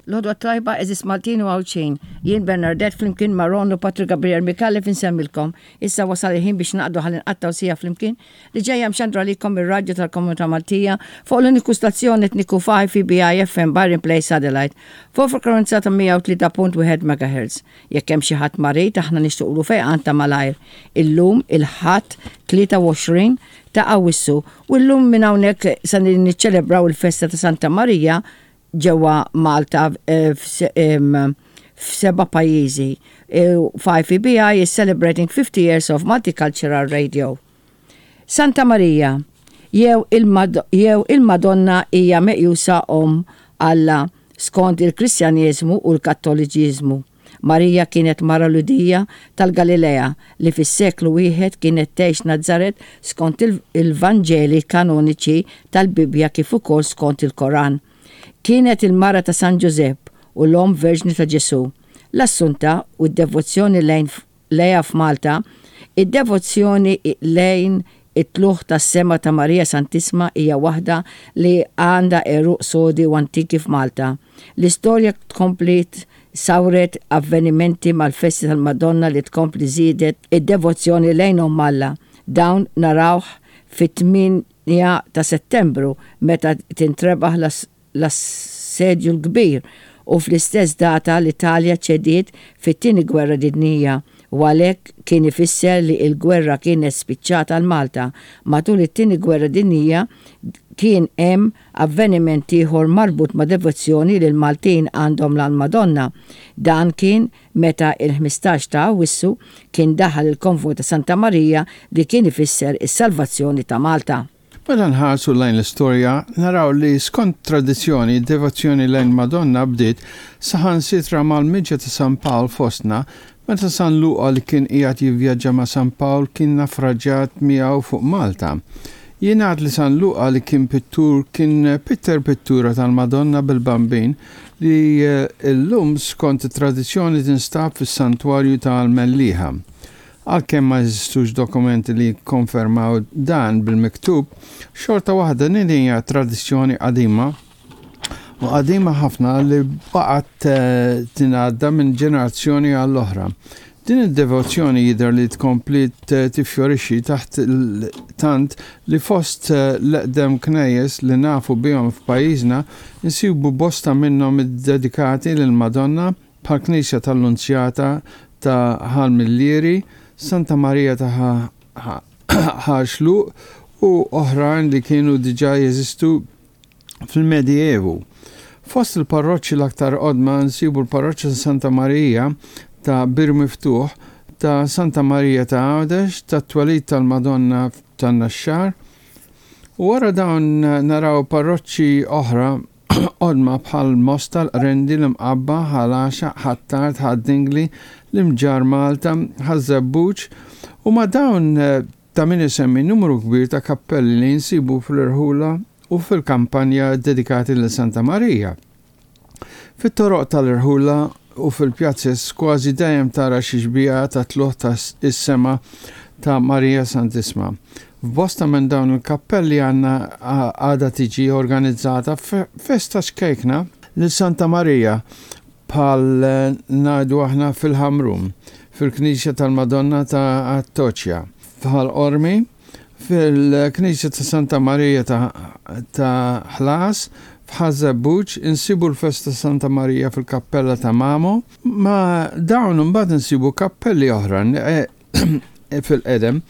L-għodwa t-tajba għeżież Maltin u Għawdxin. Jien Bernardette flimkien ma' Ron u Patrick Gabriel Micallef insemmilkom. Issa wasal il-ħin biex naqdu ħalli nqattgħu siegħa flimkien li ġejja mxandra għalikom mir-Radju tal-Komunità Maltija fuq l-uniku stazzjon etniku f'IFBI FM Byron Place Adelaide fuq frekwenza ta' 103.1 MHz. Jekk hemm xi ħadd marid aħna nixtuqlu fejqan ta' malajr. Illum il-Ħadd 23 ta' Awwissu u llum minn hawnhekk se niċċelebraw il-festa ta' Santa Marija ġewwa Malta f'seba' pajjiżi. 5EBI is celebrating 50 years of multicultural radio. Santa Marija jew il-Madonna hija meqjusa Omm Alla skont il-Kristjaneżmu u l-Kattoliċiżmu. Marija kienet mara Lhudija tal-Galilea li fis-seklu wieħed kienet tgħix Nazaret skont il-Vanġeli kanoniċi tal-Bibbja kif ukoll skont il-Koran. Kienet il-mara ta' San Ġużepp u l-omm verġni ta' Ġesù. L-Assunta u d-devozzjoni lejn lejha f'Malta, id-devozzjoni lejn it-Tlugħ tas-Sema ta' Marija Santissma hija waħda li għandha għeruq sodi u antiki f'Malta. L-istorja tkompli sawret avvenimenti mal-festi tal-Madonna li tkompli żiedet id-devozzjoni lejn Omm Alla. Dawn narawh fit-8 ta' Settembru meta tintrebaħ l-Assedju l-Kbir u fl-istess data l-Italja ċediet fit-Tieni Gwerra Dinjija u għalhekk kien ifisser li l-gwerra kienet spiċċat għal Malta. Matul it-Tieni Gwerra Dinjija kien hemm avveniment ieħor marbut ma' devozzjoni li l-Maltin għandhom l-Madonna. Dan kien meta il-15 ta' Awwissu kien daħal il-konvoj ta' Santa Marija li kien ifisser is-salvazzjoni ta' Malta. Meta nħarsu lejn l-istorja, naraw li skont tradizzjoni d-devozzjoni lejn Madonna bdiet saħansitra mal-miġja ta' San Pawl fostna, meta San Luqa li kien qiegħed jivvjaġġa ma' San Pawl kien nafraġġat miegħu fuq Malta. Jingħad li San Luqa li kien pittur kien pitter pittura tal-Madonna bil-Bambin li llum skont it-tradizzjoni tinstab fis-Santwarju tal-Mellieħa. Għalkemm ma jeżistux dokumenti li jikkonfermaw dan bil-miktub, xorta waħda din hija tradizzjoni qadima u qadima ħafna li baqgħet eh, tingħadda minn ġenerazzjoni għall oħra. Din id-devozzjoni jidher li tkompli tifjorixxi taħt tant li fost eh, l-eqdem knejjes li nafu bihom f'pajjiżna nsibu bosta minnhom iddedikati lill-Madonna bħall-Knisja tal-Lunzjata ta' Ħal Millieri, Santa Marija ta' Ħal Xluq u oħrajn li kienu diġà jeżistu fil-Medievu. Fost il-parroċċi l-aktar qodma nsibu l-parroċċa ta' Santa Marija ta' Bir Miftuħ, ta' Santa Marija ta' Għawdex, tat-Twelid tal-Madonna tan-Naxxar, u wara dawn naraw parroċċi oħra qodma bħal Mosta, l-Qrendi, l-Imqabba, Ħal Għaxaq, Ħ'Attard, Ħad-Dingli, l-Imġarr Malta, Ħaż-Żebbuġ, u ma' dawn Ta' min isemmi numru kbir ta' kappelli li nsibu fl-irħula u fil-kampanja ddedikati lil Santa Marija. Fit-toroq tal-irħula u fil-pjazez kważi dejjem tara xi xbieha ta' tlugħ ta' is-sema ta' Marija Santissma. F'bosta minn dawn il-kappelli għandna għadha tiġi organizzata festa ċkejkna lil Santa Marija bħal ngħidu aħna fil-Ħamrun, fil-Knisja tal-Madonna ta' Attoċja, f'Ħal Qormi, fil-Knisja ta' Santa Marija ta' Ħlas, f'Ħaż-Żebbuġ, insibu l-festa Santa Marija fil-Kappella ta' Mamo. Ma' dawn imbagħad insibu kappelli oħra fil-qedem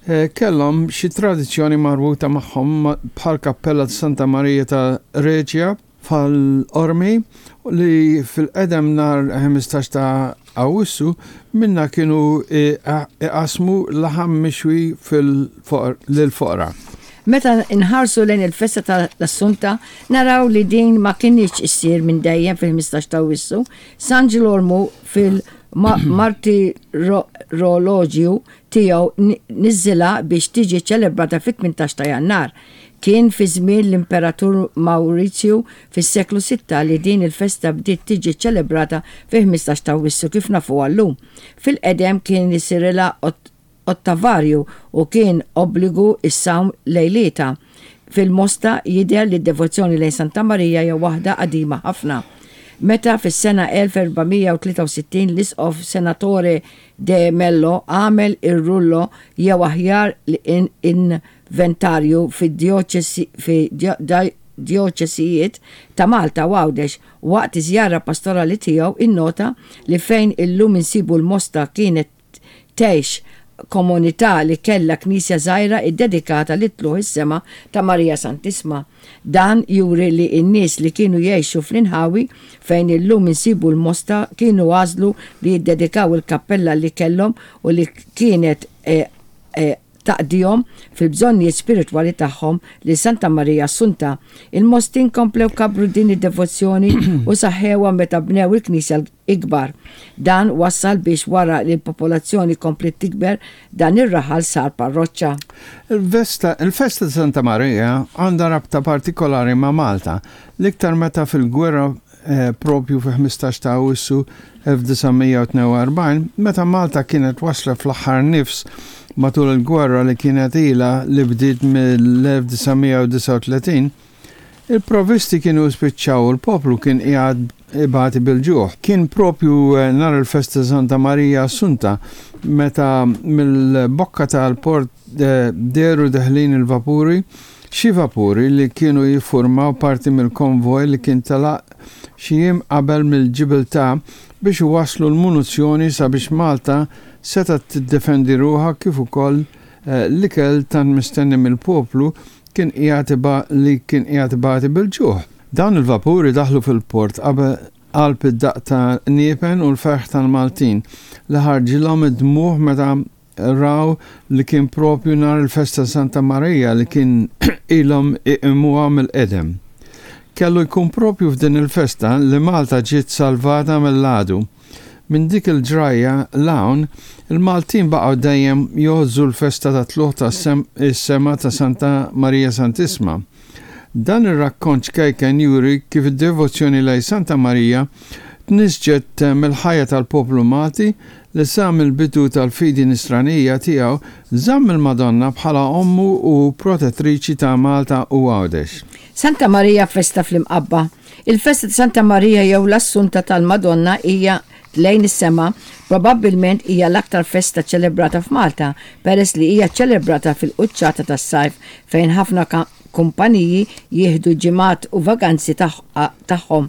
kellhom xi tradizzjoni marbuta magħhom bħall-Kappella ta' Santa Marija ta' Reġja, Bħal Qormi, li fil-qedem nhar 15 ta' Awwissu minnha kienu iqassmu laħam mixwi lill-foqra. Meta nħarsu lejn il-festa ta' l-Assunta naraw li din ma kinitx issir minn dejjem fil-15 ta' Awwissu. San Ġilormu fil-Martiroloġju tiegħu niżżilha biex tiġi ċċelebrata fit-18 ta' Jannar. Kien fi żmien l-Imperatur Mawrizju fis-seklu sitta li din il-festa bdiet tiġi ċċelebrata fil-15 ta' Awwissu kif nafuha llum. Fil-qedem kien isirilha ottavarju u kien obbligu s-sawm lejlietha. Fil-Mosta jidher li d-devozzjoni lejn Santa Marija hija waħda qadima ħafna. meta fis-sena 1463 l-Isqof Senatore de Mello għamel ir-rullo jew aħjar l-inventarju fid-djoċesijiet ta' Malta u Għawdex. Waqt iż-żjara pastorali tiegħu innota li fejn illum insibu l-Mosta kienet tgħix komunità li kellha knisja żgħira ddedikata lit-Tlugħ is-Sema ta' Marija Santissma. Dan juri li n-nies li kienu jgħixu fl-inħawi fejn illum insibu l-Mosta kienu għażlu li jiddedikaw il-kappella li kellhom u li kienet taqdihom fil-bżonnijiet spiritwali tagħhom lil Santa Marija Assunta. Il-Mostin komplew kabbru din id-devozzjoni u saħħewha meta bnew il-knisja ikbar. Dan wassal biex wara li l-popolazzjoni kompliet tikber, dan ir-raħal sar parroċċa. Il-festa ta' Santa Marija għandha rabta partikolari ma' Malta, l-iktar meta fil-gwerra propju fi-15 ta' Awwissu 1942, meta Malta kienet waslet fl-aħħar nifs matul il-gwerra li kienet ilha li bdiet mill-1939, Il-provvisti kienu spiċċaw u l-poplu kien qiegħed ibati bil-ġuħ. Kien propju nhar il-festa ta' Santa Marija Assunta meta mill-bokka tal-port dehru deħlin il-vapuri, xi vapuri li kienu jiffurmaw parti mill-konvoj li kien telaq xi jiem qabel mill-Ġibiltà biex iwasslu l-munuzzjoni sabiex Malta setgħet tiddefendi ruħha kif ukoll l-ikel tant mistenni mill-poplu kien qiegħed li kien qiegħed ibati bil-ġuħ. Dawn il-vapuri daħlu fil-port qabel qalb id-daqq ta' qniepen u l-ferħ tal-Maltin li ħarġilhom id-dmugħ meta raw li kien propju nhar il-festa ta' Santa Marija li kien ilhom iqimuha mill-qedem. Kellu jkun propju f'din il-festa li Malta ġiet salvata mill-għadu. Minn dik il-ġrajja 'l hawn, il-Maltin baqgħu dejjem jgħożżu l-festa tat-Tlugħ ta' is-Sema ta' Santa Marija Santissma. Dan ir-rakkont ċkejken juri kif id-devozzjoni lejn Santa Marija tnissġet mill-ħajja tal-poplu Malti li sa mill-bidu tal-fidi Nisranija tiegħu żamm il-Madonna bħala ommu u protettriċi ta' Malta u Għawdex. Santa Marija festa fl-Imqabba. Il-festa ta' Santa Marija jew l-Assunta tal-Madonna hija lejn is-sema probabbilment hija l-aktar festa ċċelebrata f'Malta peress li hija ċċelebrata fil-quċċata tas-sajf fejn ħafna kumpaniji jieħdu ġimgħat u vaganzi tagħhom,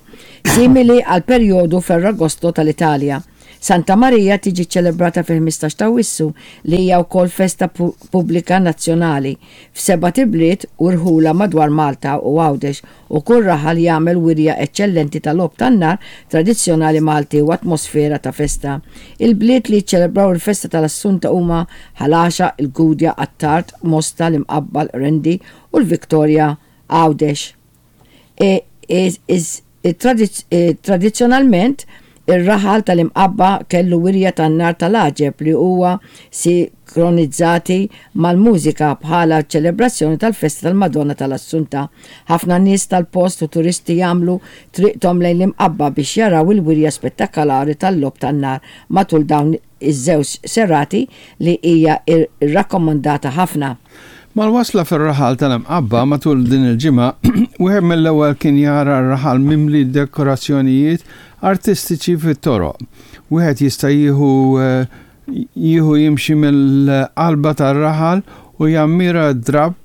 simili għall-perjodu Ferragosto tal-Italja. Santa Marija tiġi ċċelebrata fil-15 t'Awwissu, li hija wkoll festa pubblika nazzjonali, f'sebat ibliet u rħula madwar Malta u Għawdex u kull raħal jagħmel wirja eċċellenti ta' logħob tan-nar tradizzjonali Malti u atmosfera ta' festa. Il-bliet li jiċċelebraw il-festa tal-Assunta huma Ħal Għaxaq, il-Gudja, Attard, Mosta, l-Imqabba, l-Qrendi u l-Victoria, Għawdex. Tradizzjonalment, ir-raħal tal-Imqabba kellu wirja tan-nar tal-għaġeb li huwa sinkronizzati mal-mużika bħala ċelebrazzjoni tal-festa tal-Madonna tal-Assunta. Ħafna nies tal-post u turisti jagħmlu triqthom lejn l-Imqabba biex jaraw il-wirja spettakolari tal-logħob tan-nar matul dawn iż-żewġ serati li hija rrakkomandata ħafna. Mal-wasla fir-raħal tal-Imqabba matul din il-ġimgħa, wieħed mill-ewwel kien jara r-raħal mimli dekorazzjonijiet artistiċi fit-toroq. Wieħed jista' jieħu jieħu jimxi mill-qalba tar-raħal u jammira d-drapp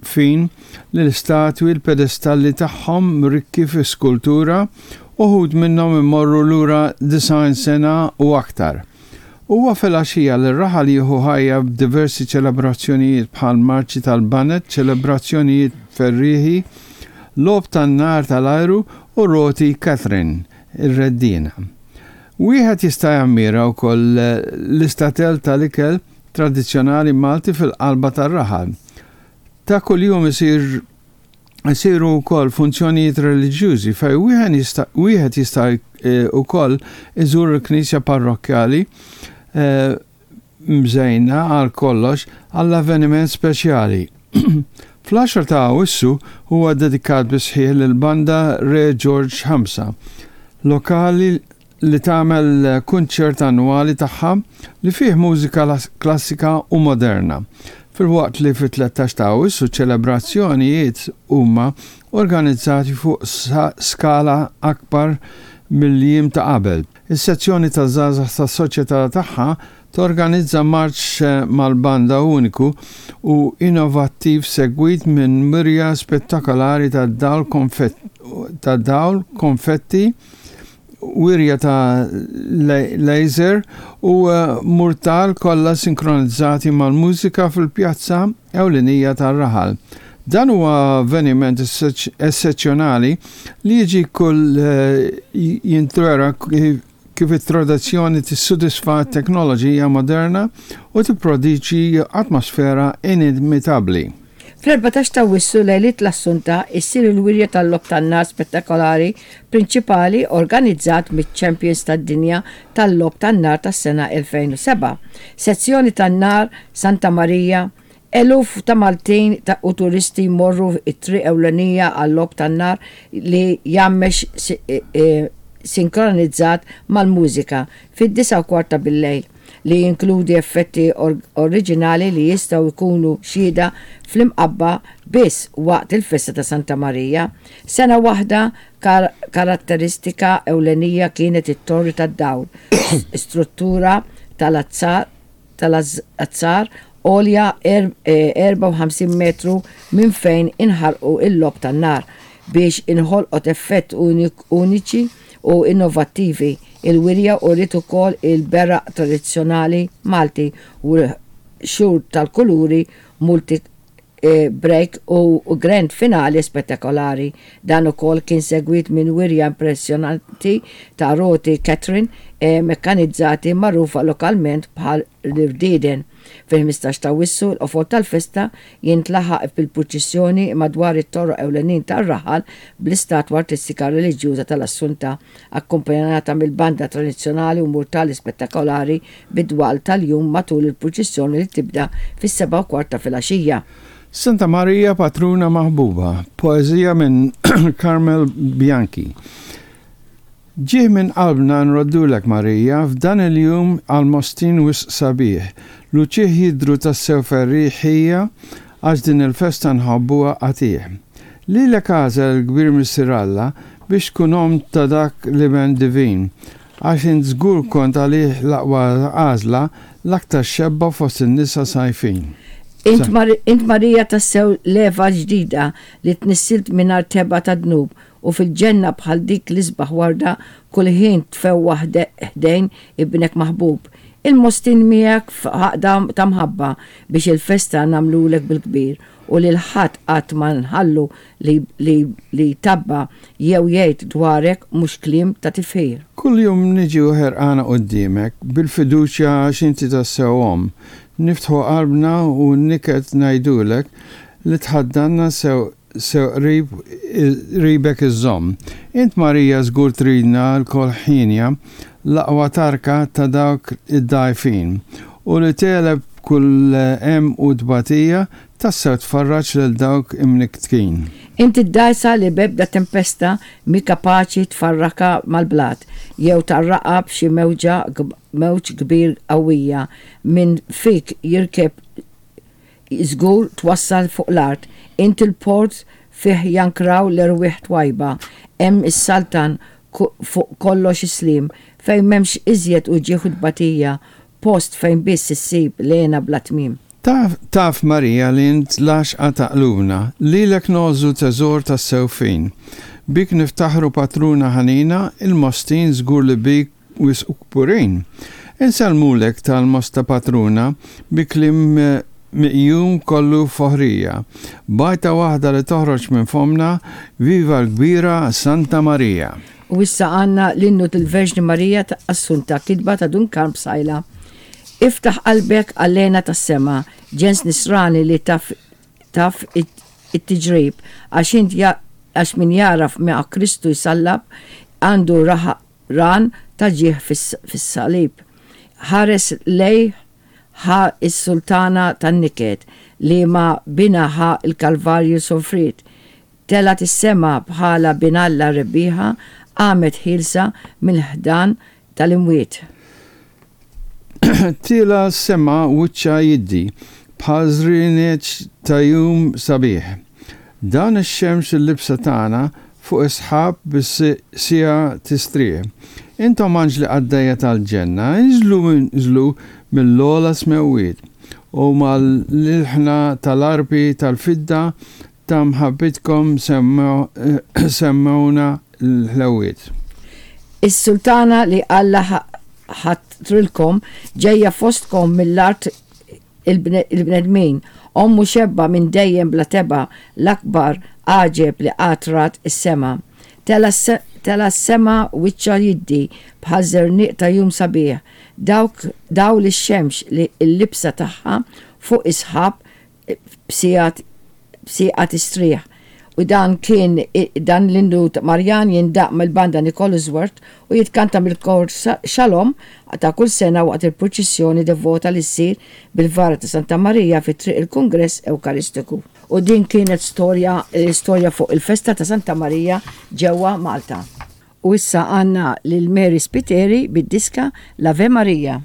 fin li l-istatwi l-pedestalli tagħhom rikki fi skultura, uħud minnhom imorru lura 90 sena u aktar. Huwa filgħaxija li r-raħal jieħu ħajja b'diversi ċelebrazzjonijiet bħal marċi tal-baned, ċelebrazzjonijiet ferrieħi, logħob tan-nar tal-ajru u roti Catherine, ir-reddiena. Wieħed jista' jammira wkoll l-istatel tal-ikel tradizzjonali Malti fil-qalba tar-raħal. Ta' kuljum isir isiru wkoll funzjonijiet reliġjużi fejn wieħed jista' wieħed jista' wkoll iżur il-knisja parrokkjali mżejna għal kollox għall-avveniment speċjali. Fl-10 ta' Awwissu huwa ddedikat bis-sħiħ lill-Banda Re Ġorġ Ħamsa, lokali li tagħmel kunċert annwali tagħha li fih mużika klassika u moderna, filwaqt li fit-13 ta' Awwissu ċelebrazzjonijiet huma organizzati fuq skala akbar mill-jiem ta' qabel. Is-sezzjoni taż-żgħażagħ tas-soċjetà tagħha torganizza marċ mal-banda uniku u innovattiv segwit minn wirja spettakolari ta' dawl ta' dawl, konfetti, wirja ta' laser u murtal kollha sinkronizzati mal-mużika fil-pjazza ewlenija tar-raħal. Dan huwa avveniment essezzjonali li jiġi kull jintwera kif it-tradizzjoni tissodisfa t-teknoloġija moderna u tipprodiċi atmosfera inimitabbli. Fl-14 ta' Awwissu, lejliet l-Assunta, issir il-wirja tal-logħob tan-nar spettakolari prinċipali organizzat miċ-Champions tad-Dinja tal-Logħob tan-Nar tas-sena 2007. Sezzjoni tan-Nar Santa Marija, Eluf ta' Maltin u turisti jmorru t-triq ewlenija għal-logħob tan-nar li jgħammex sinkronizzat mal-mużika fid-disgħa u kwart ta' billejl, li jinkludi effetti oriġinali li jistgħu jkunu xhieda fl-Imqabba biss waqt il-festa ta' Santa Marija. Sena waħda karatteristika ewlenija kienet it-Torri tad-Dawl, struttura tal-azzar tal-azzar għolja 54 metru minn fejn inħarqu l-logħob tan-nar biex inħolqot effett uniċi u innovattivi. Il-wirja uriet ukoll il-beraq tradizzjonali Malti u l-qxur tal-kuluri multi break u grand finale spettakolari. Dan ukoll kien segwit minn wirja impressjonanti ta' roti Catherine mekkanizzati magħrufa lokalment bħal l-irdieden. Fil-15 ta' Awwissu l-qofol tal-festa jintlaħaq bil-purċissjoni madwar it-toroq ewlenin tar-raħal bl-istatwa artistika reliġjuża tal-Assunta akkumpanjata mill-banda tradizzjonali u murtali spettakolari bid-dwal tal-jum matul il-purċissjoni li tibda fis-sebgħa u kwart ta' filgħaxija. Santa Marija Patruna Maħbuba, poeżija minn Carmel Bianchi. Ġieħ minn qalbna nroddulek Marija f'dan il-jum għall-Mostin wisq sabiħ, l-uċieħ jidhru tassew ferrieħija għax din il-festa nħobbuha qatigħ. Lilek għażel il-kbir Missier Alla biex tkun omm ta' dak l-Iben divin, għax int żgur kont għalih l-aqwa għażla, l-aktar xebba fost in-nisa sajfin. Int, int Marija tassew l-Eva l-ġdida li tnissilt mingħajr tebgħa ta' dnub u fil-ġenna bħal dik l-isbaħ warda kull ħin tfewwaħ ħdejn Ibnek maħbub. Il-Mostin miegħek f'għaqda ta' mħabba biex il-festa nagħmlulek bil-kbir u lil ħadd qatt ma nħallu li li li jtabba' jew jgħid dwarek mhux kliem ta' tifħir. Kuljum niġu ħerqana quddiemek, bil-fiduċja għax inti tassew Omm. Niftħu qalbna u n-niket ngħidulek li tħaddanna sew sew qrib qribek iżżomm. Int Marija żgur tridna lkoll ħienja, l-aqwa tarka ta' dawk id-dgħajfin, u li tegħleb kull hemm u tbatija, tassew tfarraġ lil dawk imnikktin. Int id-dgħajsa li b'ebda tempesta mhi kapaċi tfarrakha mal-blat, jew tgħarraqha b'xi mewġa mewġ kbir qawwija, min fik jirkeb żgur twassal fuq l-art. Int il-port fih jankraw l-erwieħ twajba, hemm issaltan fuq kollox is-sliem, fejn m'hemmx iżjed uġigħ u tbatija, post fejn biss issib l-hena bla tmiem. Taf, taf Marija li int l-għaxqa ta' qlubna, lilek ngħożżu teżor tassew fin. Bik niftaħru patruna ħanina, il-Mostin żgur li bik wisq kburin. Insellmulek tal-Mosta patruna bi kliem miqjum kollu foħrija. B'għajta waħda li toħroġ minn fommna, Viva l-kbira Santa Marija! U issa għandna l-Innu tal-Verġni Marija ta' Assunta, kitba ta' Dun Karm Psaila. Iftaħ qalbek għall-hena tas-sema, ġens nisrani li taf taf it-tiġrib, għax int għax min jagħraf ma' Kristu jsallab għandu ran ta' ġieħ fis-salib. Ħares lejh ħa s-sultana tan-niket li ma' binha ħa l-Kalvarju sofriet, Telgħet is-sema bħala Bin Alla rebbieħa, qamet ħielsa mill-ħdan tal-imwiet. Tielgħa s-sema wiċċha jiddi bħal żrienieġ ta' jum sabiħ. Dan ix-xemx il-libsa tagħna. fuq is-sħab bis-siegħa tistrieħ. Intom anġli qaddejja tal-ġenna, inżlu inżlu mill-ogħla smewwiet, u mal-ilħna tal-arpi tal-fidda ta' mħabbitkom semmgħuna l-ħlewwiet. Is-Sultana li Alla ħatrilkom ġejja fostkom mill-art il-bnedmin, Omm u xebba minn dejjem bla tebgħa, l-akbar għaġeb li qatt rat is-sema. Tela' s-sema wiċċha jiddi bħal żerniq ta' jum sabiħ, dawk dawl ix-xemx li l-libsa tagħha fuq is-sħab b'siegħat b'sieqa tistrieħ. U dan kien dan l-innu Marjan jindaqq mill-Banda Nicholusworth u jitkanta mill-Kor Shalom ta' kull sena waqt il-purċissjoni devota li ssir bil-vara ta' Santa Marija fi Triq il-Kungress Ewkaristiku. U din kienet storja storja fuq il-festa ta' Santa Marija ġewwa Malta. U issa għandna lil Mary Spiteri bid-diska L-Ave Maria.